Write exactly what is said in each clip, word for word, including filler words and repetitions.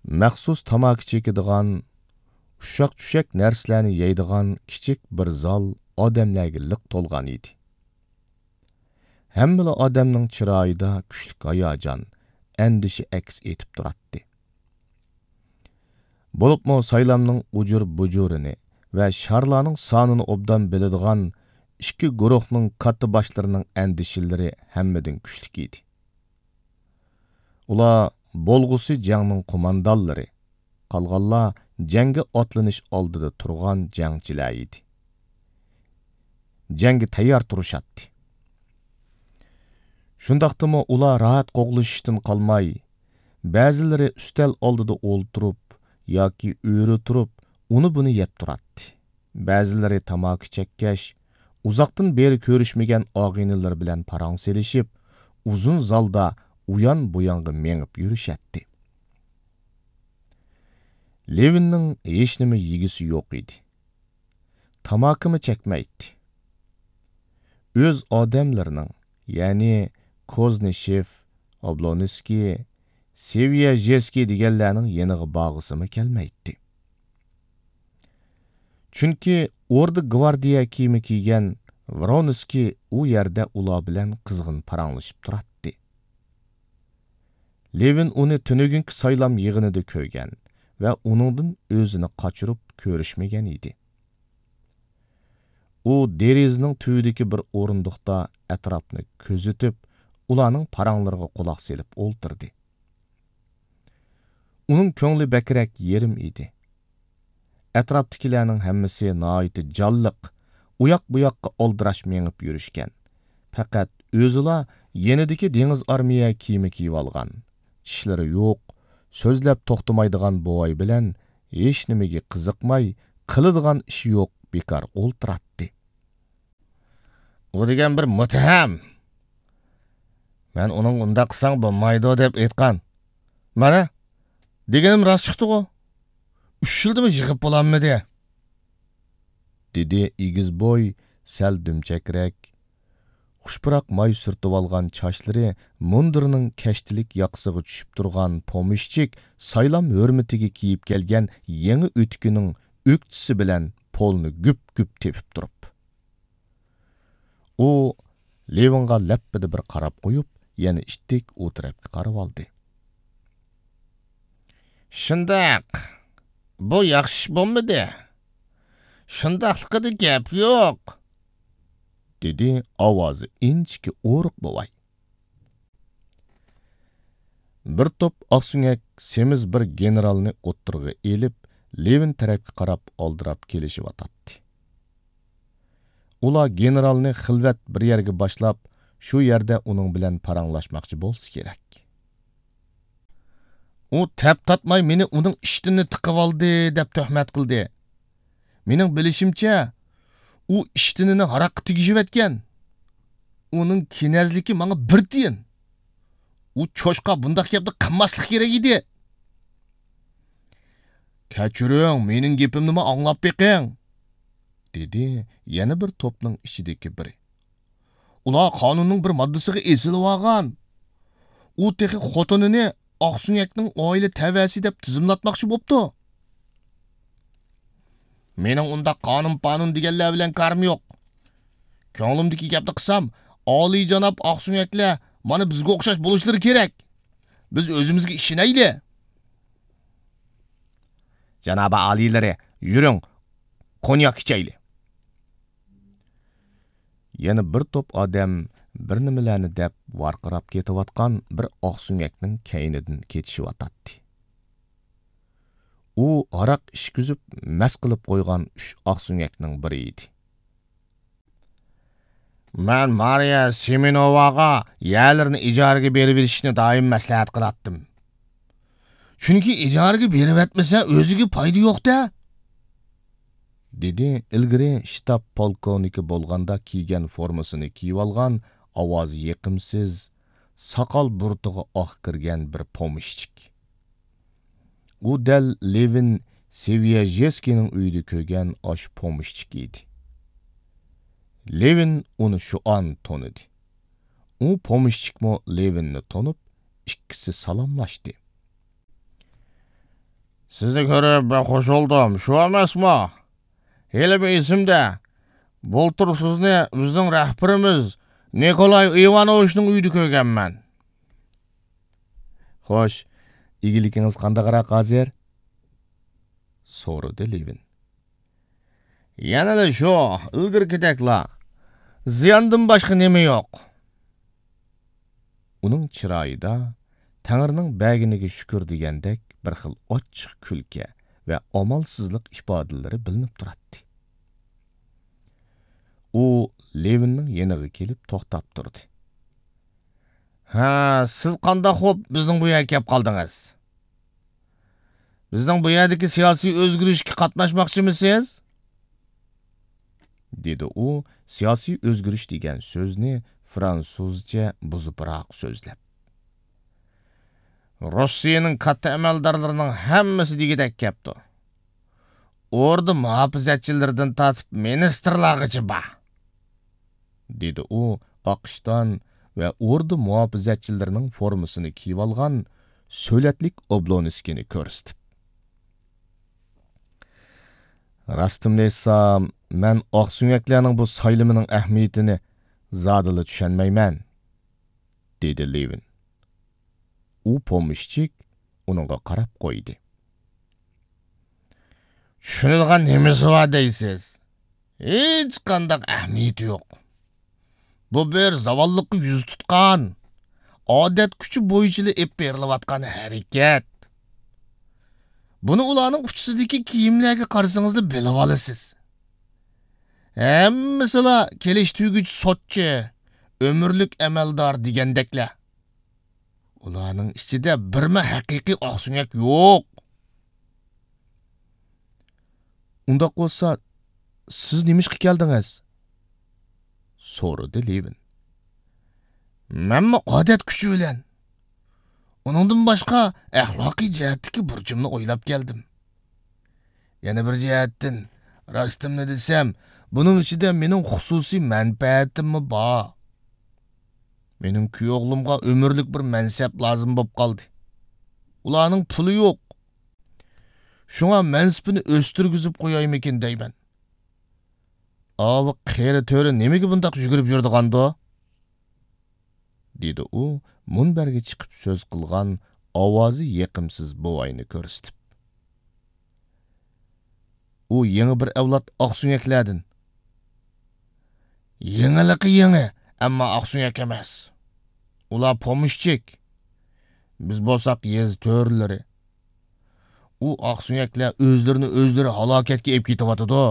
مەخسۇس تاماكا چېكىدىغان، ئۇششاق-چۈششەك نەرسىلەرنى يەيدىغان كىچىك بىر زال ئادەملەرگە لىق تولغان ئىدى. ھەممىلا ئادەمنىڭ چىرايىدا كۈچلۈك ھاياجان، ئەندىشە ئەكس ئېتىپ تۇراتتى. بولۇپمۇ سايلامنىڭ ئۇجۇر-بۇجۇرىنى ۋە شارلارنىڭ سانىنى ئوبدان بىلىدىغان ئىككى گۇرۇھنىڭ كاتتا باشلىرىنىڭ ئەندىشىلىرى ھەممىدىن كۈچلۈك ئىدى. ئۇلار بولغۇسى جەڭنىڭ قوماندانلىرى، قالغانلار جەڭگە ئاتلىنىش ئالدىدا تۇرغان جەڭچىلەر ئىدى. جەڭگە تەييار تۇرۇشاتتى. شۇنداقتىمۇ ئۇلار راھەت قوغلىشىشتىن قالماي، بەزىلىرى ئۈستەل ئالدىدا ئولتۇرۇپ ياكى ئۆرە تۇرۇپ ئۇنى-بۇنى يەپ تۇراتتى. بەزىلىرى تاماكا چەككەچ، ئۇزاقتىن بېرى كۆرۈشمىگەن ئاغىنىلىرى بىلەن پاراڭ سېلىشىپ، ئۇزۇن زالدا ئۇيان-بۇيانغا مېڭىپ يۈرۈشەتتى. لېۋىننىڭ ھېچنېمە يېگۈسى يوق ئىدى. تاماكىمۇ چەكمەيتتى. ئۆز ئادەملىرىنىڭ، يەنى كوزنىشېف، ئابلونسكىي، سېۋىيەژېسكىي دېگەنلەرنىڭ يېنىغا بارغۇسىمۇ كەلمەيتتى. چۈنكى ئوردا گۋاردىيە كىيىمى كىيگەن ۋرونسكىي ئۇ يەردە ئۇلار بىلەن قىزغىن پاراڭلىشىپ تۇراتتى. لېۋىن ئۇنى تۈنۈگۈنكى سايلام يىغىنىدا كۆرگەن ۋە ئۇنىڭدىن ئۆزىنى قاچۇرۇپ كۆرۈشمىگەن ئىدى. ئۇ دېرىزىنىڭ تۈۋىدىكى بىر ئورۇندۇقتا ئەتراپنى كۆزىتىپ، ئۇلارنىڭ پاراڭلىرىغا قۇلاق سېلىپ ئولتۇردى. ئۇنىڭ كۆڭلى بەكرەك يېرىم ئىدى. ئەتراپتىكىلەرنىڭ ھەممىسى ناھايىتى جانلىق، ئۇياق-بۇياققا ئالدىراش مېڭىپ يۈرۈشكەن. پەقەت ئۆزىلا يېنىدىكى دېڭىز ئارمىيە كىيىمى كىيىۋالغان. چىشلىرى يوق، سۆزلەپ توختىمايدىغان بوۋاي بىلەن ھېچنېمىگە قىزىقماي، قىلىدىغان ئىشى يوق، بىكار ئولتۇراتتى. ئۇ دېگەن بىر مۇتتەھەم. مەن ئۇنىڭغا ئۇنداق قىلساڭ بولمايدۇ دەپ ئېيتقان. مانا، دېگىنىم راست چىقتىغۇ. ئۈچ يىلدىمۇ يىغىپ بولالمىدى. دېدى ئېگىز بوي، سەل دۈمچەكرەك، خۇش پۇراق ماي سۈرتۈۋالغان چاچلىرى مۇندۇرىنىڭ كەشتىلىك ياقىسىغا چۈشۈپ تۇرغان پومېشچىك سايلام ھۆرمىتىگە كىيىپ كەلگەن يېڭى ئۆتۈكىنىڭ ئۆكتىسى بىلەن پولنى گۈپ-گۈپ تېپىپ تۇرۇپ. ئۇ لېۋىنغا لەپپىدە بىر قاراپ قويۇپ، يەنە ئىتتىك ئۇ تەرەپكە قارىۋالدى. شۇنداق، بۇ ياخشى ئىش بولمىدى. شۇنداقلىقىدا گەپ يوق، دېدى ئاۋازى ئىنچىكە ئورۇق بوۋاي. بىر توپ ئاقسۆڭەك سېمىز بىر گېنېرالنى ئوتتۇرىغا ئېلىپ، لېۋىن تەرەپكە قاراپ ئالدىراپ كېلىشىۋاتاتتى. ئۇلار گېنېرالنى خىلۋەت بىر يەرگە باشلاپ، شۇ يەردە ئۇنىڭ بىلەن پاراڭلاشماقچى بولسا كېرەك. ئۇ تەپ تارتماي مېنى ئۇنىڭ ئىشتىنىنى تىقىۋالدى دەپ تۆھمەت قىلدى. مېنىڭ بىلىشىمچە، ئۇ ئىشتىنىنى ھاراققا تېگىشىۋەتكەن. ئۇنىڭ كېنەزلىكى ماڭا بىر تىيىن. ئۇ چوشقا بۇنداق گەپنى قىلماسلىق كېرەك ئىدى. كەچۈرۈڭ، مېنىڭ گېپىمنىمۇ ئاڭلاپ بېقىڭ، دېدى يەنە بىر توپنىڭ ئىچىدىكى بىرى. ئۇلار قانۇننىڭ بىر ماددىسىغا ئېسىلىۋالغان. ئۇ تېخى خوتۇنىنى ئاقسۆڭەكنىڭ ئائىلە تەۋەسى دەپ تىزىملاتماقچى بوپتۇ. مېنىڭ ئۇنداق قانۇن-پانۇن دېگەنلەر بىلەن كارىم يوق. كۆڭلۈمدىكى گەپنى قىلسام، ئالىيجاناب ئاقسۆڭەكلەر مانا بىزگە ئوخشاش بولۇشلىرى كېرەك. بىز ئۆزىمىزگە ئىشىنەيلى. جانابىي ئالىيلىرى، يۈرۈڭ، كونياك ئىچەيلى. يەنە بىر توپ ئادەم بىر نېمىلەرنى دەپ ۋارقىراپ كېتىۋاتقان بىر ئاقسۆڭەكنىڭ كەينىدىن كېتىشىۋاتاتتى. ئۇ ھاراق ئىچكۈزۈپ مەست قىلىپ قويغان ئۈچ ئاقسۆڭەكنىڭ بىرى ئىدى. مەن مارىيا سېمېنوۋاغا يەرلىرىنى ئىجارىگە بېرىۋېلىشنى دائىم مەسلىھەت قىلاتتىم. چۈنكى ئىجارىگە بېرىۋەتمىسە ئۆزىگە پايدا يوق-دە، دېدى ئىلگىرى شتاب پولكوۋنىكى بولغاندا كىيگەن فورمىسىنى كىيىۋالغان ئاۋازى يېقىمسىز، ساقال بۇرۇتىغا ئاق كىرگەن بىر پومېشچىك. ئۇ دەل لېۋىن سېۋىيەژېسكىينىڭ ئۆيىدە كۆرگەن ئاشۇ پومېشچىك ئىدى. لېۋىن ئۇنى شۇ ئان تونۇدى. ئۇ پومېشچىكمۇ لېۋىننى تونۇپ، ئىككىسى سالاملاشتى. سىزنى كۆرۈپ بەك خۇش بولدۇم، شۇ ئەمەسمۇ؟ ھېلىمۇ ئېسىمدە، بۇلتۇر سىزنى بىزنىڭ رەھبىرىمىز نىكولاي ئىۋانوۋىچنىڭ ئۆيىدە كۆرگەنمەن. خوش، ئىگىلىكىڭىز قانداقراق ھازىر؟ سورىدى لېۋىن. يەنىلا شۇ، ئىلگىرىكىدەكلا. زىياندىن باشقا نېمە يوق؟ ئۇنىڭ چىرايىدا تەڭرىنىڭ بەرگىنىگە شۈكۈر دېگەندەك بىر خىل ئاچچىق كۈلكە ۋە ئامالسىزلىق ئىپادىلىرى بىلىنىپ تۇراتتى. ئۇ لېۋىننىڭ يېنىغا كېلىپ توختاپ تۇردى. ھە، سىز قانداق خوپ بىزنىڭ بۇ يەرگە كەپ قالدىڭىز؟ بىزنىڭ بۇ يەردىكى سىياسىي ئۆزگىرىشكە قاتناشماقچىمىسىز؟ دېدى ئۇ سىياسىي ئۆزگىرىش دېگەن سۆزنى فرانسۇزچە بۇزۇپراق سۆزلەپ. روسىيەنىڭ كاتتا ئەمەلدارلىرىنىڭ ھەممىسى دېگۈدەك كەپتۇ. ئوردا مۇھاپىزەتچىلىرىدىن تارتىپ مىنىستىرلارغىچە بار. دېدى ئۇ ئاق ئىشتان ۋە ئوردا مۇھاپىزەتچىلىرىنىڭ فورمىسىنى كىيىۋالغان سۆلەتلىك ئوبلونسكىنى كۆرسىتىپ. راستىمنى ئېيتسام، مەن ئاقسۆڭەكلەرنىڭ بۇ سايلىمىنىڭ ئەھمىيىتىنى زادىلا چۈشەنمەيمەن، دېدى لېۋىن. ئۇ پومېشچىك ئۇنىڭغا قاراپ قويدى. چۈشىنىدىغان نېمىسى بار دەيسىز؟ ھېچقانداق ئەھمىيىتى يوق. بۇ بىر زاۋاللىققا يۈز تۇتقان، ئادەت كۈچى بويىچىلا ئېلىپ بېرىلىۋاتقان ھەرىكەت. بۇنى ئۇلارنىڭ ئۇچىسىدىكى كىيىملەرگە قارىسىڭىزلا بىلىۋالىسىز. ھەممىسىلا كېلىشتۈرگۈچ سوتچى، ئۆمۈرلۈك ئەمەلدار دېگەندەكلەر. ئۇلارنىڭ ئىچىدە بىرمۇ ھەقىقىي ئاقسۆڭەك يوق. ئۇنداق بولسا، سىز نېمىشقا كەلدىڭىز؟ سورىدى لېۋىن. مەنمۇ ئادەت كۈچى بىلەن. ئۇنىڭدىن باشقا، ئەخلاقىي جەھەتتىكى بۇرچۇمنى ئويلاپ كەلدىم. يەنە بىر جەھەتتىن، راستىمنى دېسەم، بۇنىڭ ئىچىدە مېنىڭ خۇسۇسىي مەنپەئەتىممۇ بار. مېنىڭ كۈيئوغلۇمغا ئۆمۈرلۈك بىر مەنسەپ لازىم بولۇپ قالدى. ئۇلارنىڭ پۇلى يوق. شۇڭا مەنسىپىنى ئۆستۈرگۈزۈپ قويايمىكىن دەيمەن. ئاۋۇ قېرى تۆرە نېمىگە بۇنداق يۈگۈرۈپ يۈرىدىغاندۇ؟ دېدى ئۇ مۇنبەرگە چىقىپ سۆز قىلغان ئاۋازى يېقىمسىز بوۋاينى كۆرسىتىپ. ئۇ يېڭى بىر ئەۋلاد ئاقسۆڭەكلەردىن. يېڭىلىقى يېڭى، ئەمما ئاقسۆڭەك ئەمەس. ئۇلار پومېشچىك. بىز بولساق يېزا تۆرىلىرى. ئۇ ئاقسۆڭەكلەر ئۆزلىرىنى ئۆزلىرى ھالاكەتكە ئېلىپ كېتىۋاتىدۇ.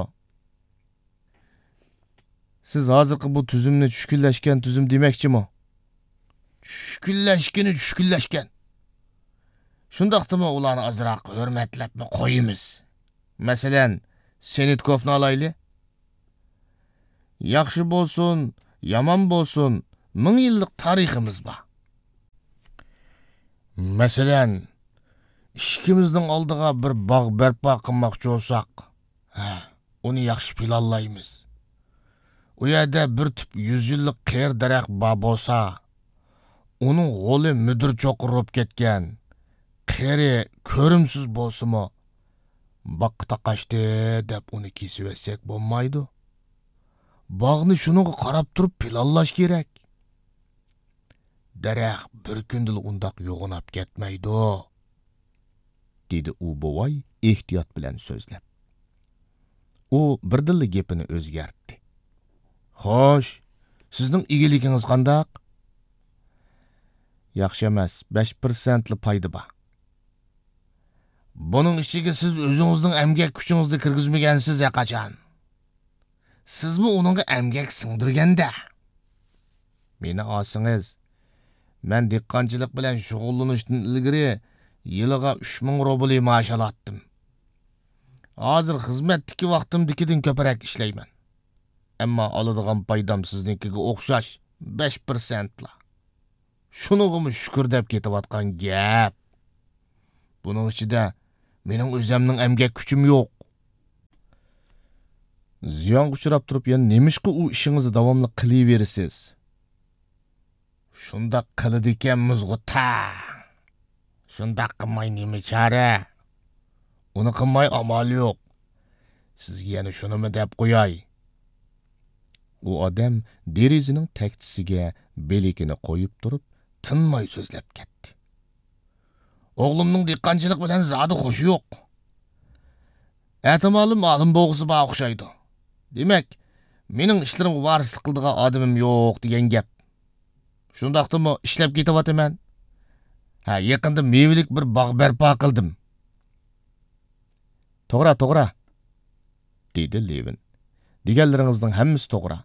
سىز ھازىرقى بۇ تۈزۈمنى چۈشكۈنلەشكەن تۈزۈم دېمەكچىمۇ؟ چۈشكۈنلەشكىنى چۈشكۈنلەشكەن. شۇنداقتىمۇ ئۇلارنى ئازراق ھۆرمەتلەپمۇ قويىمىز. مەسىلەن، سېنىتكوفنى ئالايلى. ياخشى بولسۇن، يامان بولسۇن، مىڭ يىللىق تارىخىمىز بار. مەسىلەن، ئىشىكىمىزنىڭ ئالدىغا بىر باغ بەرپا قىلماقچى بولساق، ھە، ئۇنى ياخشى پىلانلايمىز. ئۇ يەردە بىر تۈپ يۈز يىللىق قېرى دەرەخ بار بولسا، ئۇنىڭ غولى مۈدۈر چوققا ئۇرۇپ كەتكەن، قېرى، كۆرۈمسىز بولسىمۇ، باغقا تاقاشتى دەپ ئۇنى كېسىۋەتسەك بولمايدۇ. باغنى شۇنىڭغا قاراپ تۇرۇپ پىلانلاش كېرەك. دەرەخ بىر كۈندىلا ئۇنداق يوغىناپ كەتمەيدۇ، دېدى ئۇ بوۋاي ئېھتىيات بىلەن سۆزلەپ. ئۇ بىردىنلا گېپىنى ئۆزگەرتتى. خوش، سىزنىڭ ئىگىلىكىڭىز قانداق؟ ياخشى ئەمەس، بەش پىرسەنتلا پايدا بار. بۇنىڭ ئىچىگە سىز ئۆزىڭىزنىڭ ئەمگەك كۈچىڭىزنى كىرگۈزمىگەنسىز ھەقاچان. سىزمۇ ئۇنىڭغا ئەمگەك سىڭدۈرگەندە. مېنى ئالسىڭىز، مەن دېھقانچىلىق بىلەن شۇغۇللىنىشتىن ئىلگىرى يىلىغا ئۈچ مىڭ روبلى مائاش ئالاتتىم. ھازىر خىزمەتتىكى ۋاقتىمدىكىدىن كۆپرەك ئىشلەيمەن. ئەمما ئالىدىغان پايدام سىزنىڭكىگە ئوخشاش بەش پىرسەنتلا. شۇنىڭغىمۇ شۈكۈر دەپ كېتىۋاتقان گەپ. بۇنىڭ ئىچىدە مېنىڭ ئۆزەمنىڭ ئەمگەك كۈچۈم يوق. زىيانغا ئۇچراپ تۇرۇپ يەنە نېمىشقا ئۇ ئىشىڭىزنى داۋاملىق قىلىۋېرىسىز؟ شۇنداق قىلىدىكەنمىزغۇ تا. شۇنداق قىلماي نېمە چارە؟ ئۇنى قىلماي ئامال يوق. سىزگە يەنە شۇنىمۇ دەپ قوياي. ئۇ ئادەم دېرىزىنىڭ تەكچىسىگە بىلىكىنى قويۇپ تۇرۇپ، تىنماي سۆزلەپ كەتتى. ئوغلۇمنىڭ دېھقانچىلىق بىلەن زادى خوشى يوق. ئەتىمالىم ئالىم بولغۇسى بار ئوخشايدۇ. دېمەك، مېنىڭ ئىشلىرىمغا ۋارىسلىق قىلىدىغان ئادىمىم يوق دېگەن گەپ. شۇنداقتىمۇ ئىشلەپ كېتىۋاتىمەن. ھە، يېقىندا مېۋىلىك بىر باغ بەرپا قىلدىم. توغرا، توغرا، دېدى لېۋىن. دېگەنلىرىڭىزنىڭ ھەممىسى توغرا.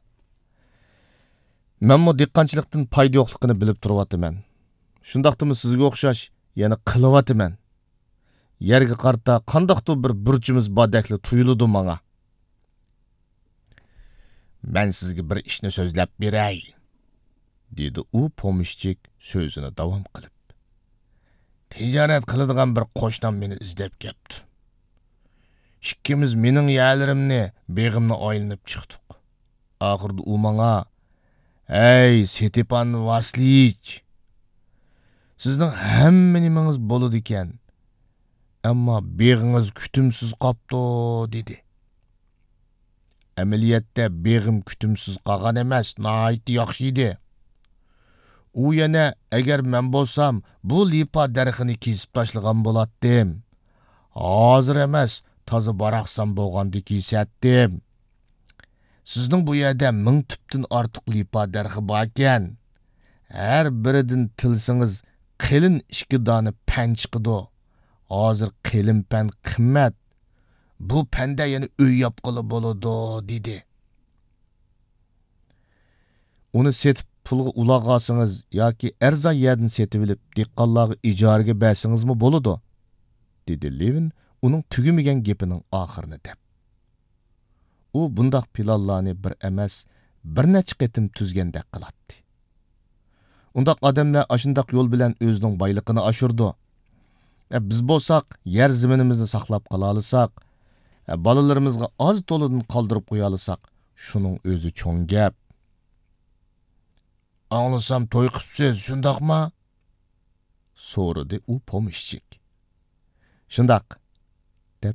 مەنمۇ دېھقانچىلىقتىن پايدا يوقلۇقىنى بىلىپ تۇرۇۋاتىمەن. شۇنداقتىمۇ سىزگە ئوخشاش يەنە قىلىۋاتىمەن. يەرگە قارىتا قانداقتۇر بىر بۇرچىمىز باردەكلا تۇيۇلىدۇ ماڭا. مەن سىزگە بىر ئىشنى سۆزلەپ بېرەي، دېدى ئۇ پومېشچىك سۆزىنى داۋام قىلىپ. تىجارەت قىلىدىغان بىر قوشنام مېنى ئىزدەپ كەپتۇ. ئىككىمىز مېنىڭ يەرلىرىمنى، بېغىمنى ئايلىنىپ چىقتۇق. ئاخىرىدا ئۇ ماڭا، ھەي، ستېپان ۋاسلىيچ، سىزنىڭ ھەممە نېمىڭىز بولىدىكەن، ئەمما بېغىڭىز كۈتۈمسىز قاپتۇ، دېدى. ئەمەلىيەتتە بېغىم كۈتۈمسىز قالغان ئەمەس، ناھايىتى ياخشى ئىدى. ئۇ يەنە، ئەگەر مەن بولسام، بۇ لىپا دەرىخىنى كېسىپ تاشلىغان بولاتتىم. ھازىر ئەمەس، تازا باراقسان بولغاندا كېسەتتىم. سىزنىڭ بۇ يەردە مىڭ تۈپتىن ئارتۇق لىپا دەرىخى باركەن. ھەر بىرىدىن تىلسىڭىز، قېلىن ئىككى دانە پەن چىقىدۇ. ھازىر قېلىن پەن قىممەت. بۇ پەندە يەنە ئۆي ياپقىلى بولىدۇ، دېدى. ئۇنى سېتىپ پۇلغا ئۇلاغ ئالسىڭىز ياكى ئەرزان يەردىن سېتىۋېلىپ دېھقانلارغا ئىجارىگە بەرسىڭىزمۇ بولىدۇ، دېدى لېۋىن ئۇنىڭ تۈگىمىگەن گېپىنىڭ ئاخىرىنى دەپ. ئۇ بۇنداق پىلانلارنى بىر ئەمەس، بىر نەچچە قېتىم تۈزگەندەك قىلاتتى. ئۇنداق ئادەملەر ئاشۇنداق يول بىلەن ئۆزىنىڭ بايلىقىنى ئاشۇرىدۇ. ئە، بىز بولساق، يەر زېمىنىمىزنى ساقلاپ قالالىساق، ئە، بالىلىرىمىزغا ئاز تولىدىن قالدۇرۇپ قويالىساق، شۇنىڭ ئۆزى چوڭ گەپ. ئاڭلىسام توي قىپسىز، شۇنداقما؟ سورىدى ئۇ پومېشچىك. شۇنداق،